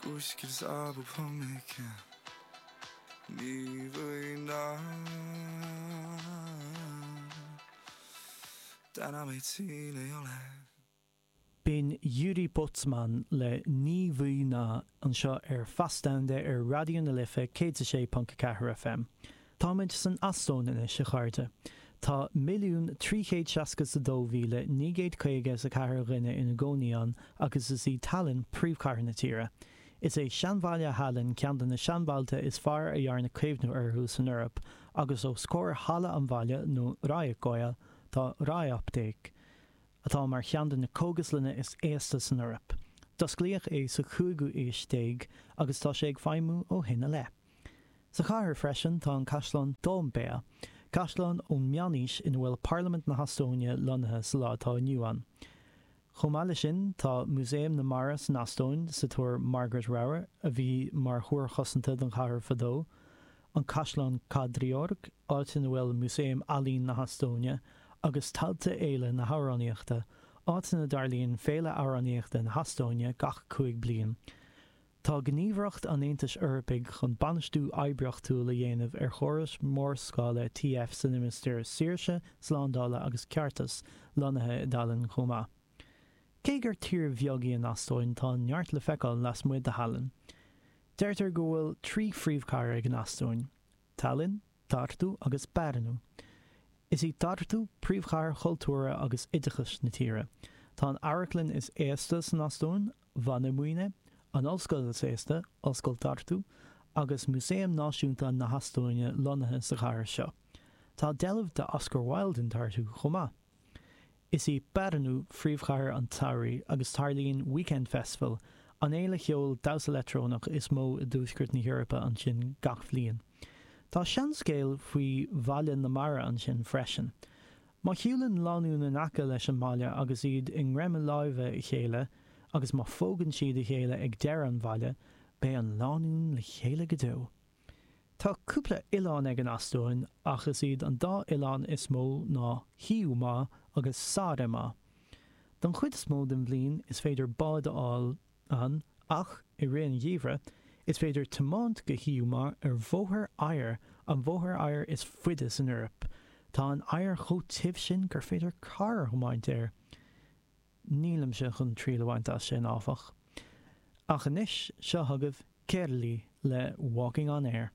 Kuskil saabub hommik ja nii või naa. Täna meid siin ei ole. B'in Jüri Pootsmann le Nii või naa anseo ar Feas Domhanda ar Raidió na Life 106.4 FM. Táimid san Eastóin anois, a chairde. Tá 1,362,954 dhuine ina gcónaí ann agus is í Tallinn príomhchathair na tíre. Is é Seanbhaile Thaillinn ceann de na seanbhailte is fearr a dhearnadh caomhnú orthu san Eoraip agus os comhair Halla an Bhaile, nó Raekoja, tá Raeapteek, atá mar cheann de na cógaslanna is aosta san Eoraip. D'osclaíodh é sa chúigiú aois déag agus tá sé ag feidhmiú ó shin i leith. Sa chathair freisin tá an Caisleán Toompea, caisleán ón meánaois ina bhfuil Parlaimint na hEastóine lonnaithe sa lá atá inniu ann. Chomh maith leis sin tá Músaem na Mara san Eastóin sa Túr Margaret Ramhar a bhí mar thúr chosanta don chathair fadó, an Caisleán Kadriorg, áit ina bhfuil Músaem Ealaín na hEastóine, agus Tailte Fhéile na hAmhránaíochta, áit ina dtarlaíonn Féile Amhránaíochta na hEastóine gach 5 bliain. Tá Gníomhaireacht an Aontais Eorpaigh chun bainistiú oibríochtúil a dhéanamh ar chórais mhórscála TF san limistéar Saoirse, Slándála agus Ceartais lonnaithe i dTaillinn chomh maith. Cé gur tír bheag í an Eastóin tá neart le feiceáil lasmuigh de Thaillinn. Deirtear go bhfuil 3 phríomhchathair ag an Eastóin, Tallinn, Tartu agus Pärnu. Is í Tartu príomhchathair chultúrtha agus oideachais na tíre. Tá an amharclann is aosta san Eastóin, Vanemuine, an ollscoil is aosta, Ollscoil Tartu, agus Músaem Náisiúnta na hEastóine lonnaithe sa chathair seo. Tá deilbh de Oscar Wilde in Tartu chomh maith. Is í Pärnu phríomhchathair an tsamhraidh agus tarlaíonn Weekend Festival, an fhéile cheoil damhsa leictreonach is mó i dtuaisceart na hEorpa ansin gach bhliain. Tá seanscéal faoi Bhaile na Mara ansin freisin. Má shiúlann lánúin in aice leis an mbaile agus iad i ngreim láimhe a chéile agus má phógann siad a chéile ag deireadh an bhaile, beidh an lánúin le chéile go deo. Tá cúpla oileán ag an Eastóin ach is iad an dá oileán is mó ná Hiiumaa agus Saaremaa. Don chuid is mó den bhliain is féidir bád a fháil ann ach, i rith an gheimhridh, is féidir tiomáint go Hiiumaa ar bhóthar oighir, an bhóthar oighir is faide san Eoraip. Tá an oighear chomh tiubh sin gur féidir carr a thiomáint air. Nílimse chun triail a bhaint as sin, áfach. Ach anois, seo chugaibh Kerli le Walking on Air.